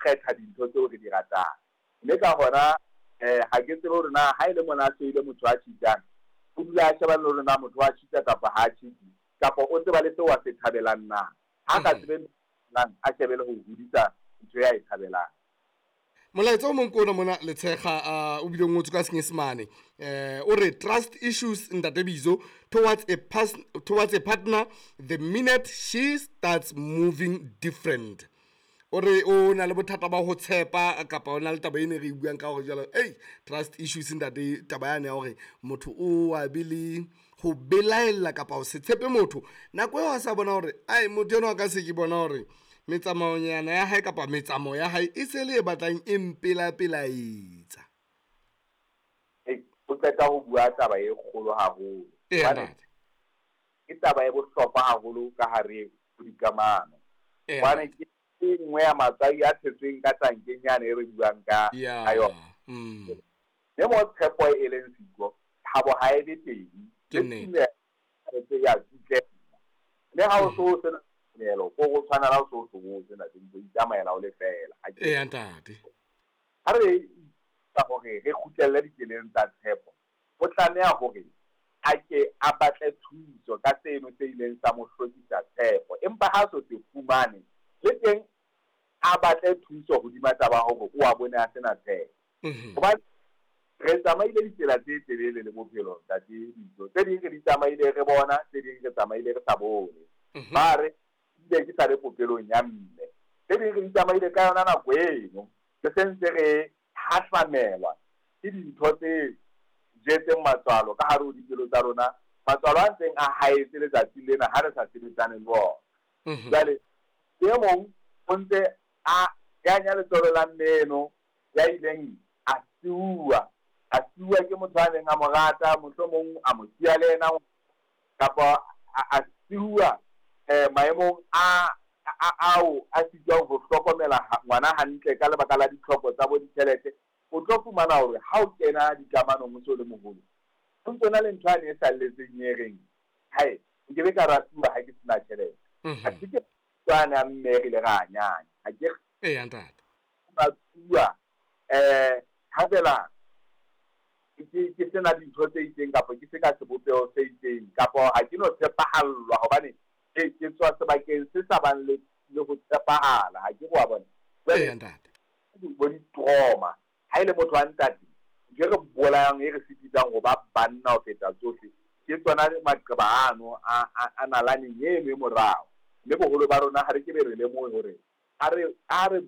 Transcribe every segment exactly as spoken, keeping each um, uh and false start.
kgetha dintho tseo re di ratang. Mme ka hona eh ha ke tsebe hore na ha e le mona a hloile motho a cheatang, o dula a shebane le hore na motho wa cheata kapa ha a cheate, kapa o tseba le seo a se thabelang na. Ha ka tsebe nang a shebele ho hodisa ntho ya e thabelang. Molaetsa o mong ke ona mona Letshega, o bile o ngotswe ka Senyesemane, eh o re trust issues ntate Bizo towards a pas towards a partner the minute she starts moving different. O re o na le bothata ba ho tshepa kapa o na le taba ene re e buang ka hore jwalo, ei trust issues ntate, taba yane ya hore motho o a be le ho belaella kapa ho se tshepe motho nako eo a sa bona hore ai motho enwa ka se ke bona hore metsamaonyana ya hae kapa metsamao ya hae e se le e batlang e mpelapelaetsa. Ei, o qeta ho bua taba e kgolo haholo. Ee, ntate. Ke taba e bohlokwa haholo ka hare ho dikamano. Ee, Hobane ke e nngwe ya matswai a tshetsweng ka tankeng yane e re buang ka Ya, ka yona. mm. Mme mo tshepo e leng siko, thabo ha e be teng. Ke nnete. Le tumelo ya tsitlela. Mme ha o so sena tumelo, ko go tshwana la o so hlobotse ntate, o itsamaela o le fela. Ha ke- Ee, ntate. Ha re ka hore re kgutlelle ditseleng tsa tshepo, o tlameha hore a ke a batle thuso ka seno se ileng sa mo hlokisa tshepo. Empa ha so se fumane, le teng a batle thuso hodima taba hore o a bone a sena tshepo. Mhm. Hobane re tsamaile ditsela tse telele le bophelo ntate Bizo. Tse ding re di tsamaile re bona, tse ding re tsamaile re sa bone. Mhm. Ba re ile ke sa le popelong ya mme. Tse ding re di tsamaile ka yona nako eno, re sentse re hahlamelwa ke dintho tse jetseng matswalo ka hare ho dipelo tsa rona, matswalo a ntseng a haetse letsatsi lena ha re sa sebetsane le ona. Mhm. Jwale e mong o ntse a kanya letswalo la mmeno ya ileng a siuwa, a siuwa ke motho a neng a mo rata, mohlomong a mo siya le yena, kapa a, a siuwa, eh, maemong a, a, ao a sitwang ho hlokomela ha-, ngwana hantle ka lebaka la ditlhoko tsa bo ditjhelete. O tlo fumana hore ha o kena dikamanong o so le moholo, o ntso na le ntho yane e salletseng e reng, hae, nke be ka ratuwa ha ke sena tjhelete. Mhm. Ha ke tswana mme re ile ra nyanya. Ha ke Ee, ntate. ratuwa, eh, ha fela ke, ke sena dintho tse itseng kapa ke se ka sebopeho se itseng, kapa ha ke no tshepahallwa hobane ke, ke tswa sebakeng se sa bang le, le ho tshepahala. Ha ke wa bona. Ee, ntate. Bo di-trauma. Ha e le motho wa ntate, ntho e re bolayang, e re sitisang ho ba banna ho feta tsohle, ke tsona maqeba ano a, a, a nalaneng eno e morao. Mme boholo ba rona ha re ke be re lemohe hore a re, a re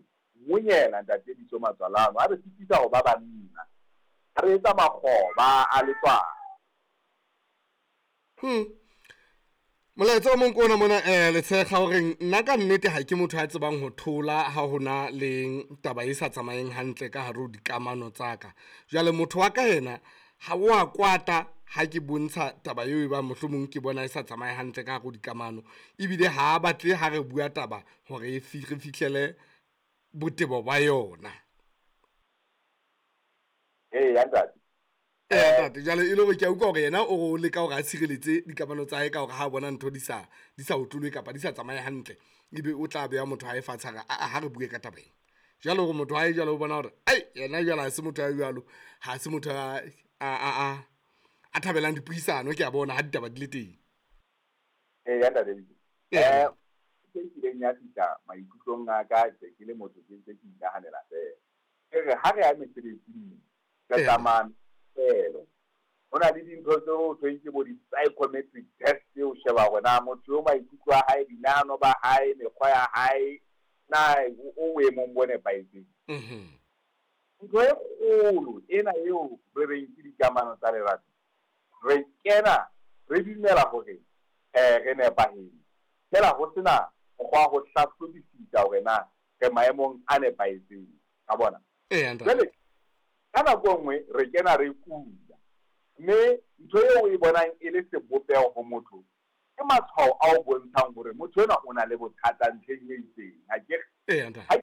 monyela ntate Bizo matswalo ano, a re sitisa ho ba banna, a re etsa makgoba a letswalo. Hmm. Molaetsa o mong ke ona mona, eh, Letshega, horeng nna ka nnete ha ke motho a tsebang ho thola ha hona le taba e sa tsamayeng hantle ka hare ho dikamano tsa ka. Jwale motho wa ka yena ha o a kwata ha ke bontsha taba eo e bang mohlomong ke bona e sa tsamaye hantle ka hare ho dikamano, ebile ha a batle ha re bua taba hore e fi-, re fihlele botebo ba yona. Ee, ya ntate. Ee, ntate, jwale e le hore ke a utlwa hore yena o re o leka hore a tshireletse dikamano tsa hae ka hore ha a bona ntho di sa, di sa otlolohe kapa di sa tsamaye hantle, ebe o tla beha motho hae fatshe a re, a, a, ha re bue ka taba ena. Jwale hore motho hae jwale o bona hore, ai, yena jwale ha se motho ya jwalo, ha se motho a, a, a, a, a thabelang dipuisano, ke a bona ha ditaba di le teng. Ee, ya ntate. Ee. Eh, ke kileng ya fihla maikutlong a ka, ke ke le motho ke ntse ke inahanela fela. E re ha re ya mesebetsing, re Ee. tsamaya fela. Ho na le dintho tse ho thweng ke bo di-psychometric test tseo sheba hore na motho eo maikutlo a hae, dinahano ba hae, mekgwa ya hae, na o, o boemong bo nepahetseng. Mhm. Ntho e kgolo ena eo re reng ke dikamano tsa lerato, re kena re dumela hore, eh, re nepahetse. Fela ho sena mokgwa wa ho hlahlobisisa hore na re maemong a nepahetseng. Ka bona? Ee, ntate. Jwale, ka nako e nngwe re kena re kula, mme ntho eo o e bonang e le sebopeho ho motho ke matshwao a o bontshang hore motho enwa o na le bothata ntlheng e itseng. Ha ke re, Ee, ntate. ha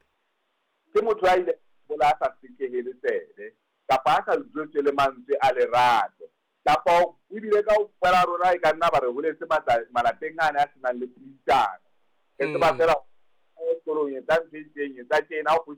ke motho a ile bola a sa sekehele tsebe, kapa a sa jwetswe le mantswe a lerato, kapa ebile kaofela rona e ka nna ba re holetse matla-, malapeng ane a senang le puisano. Re tseba Mm. feela sekolong etsa ntho e itseng, etsa tjena, o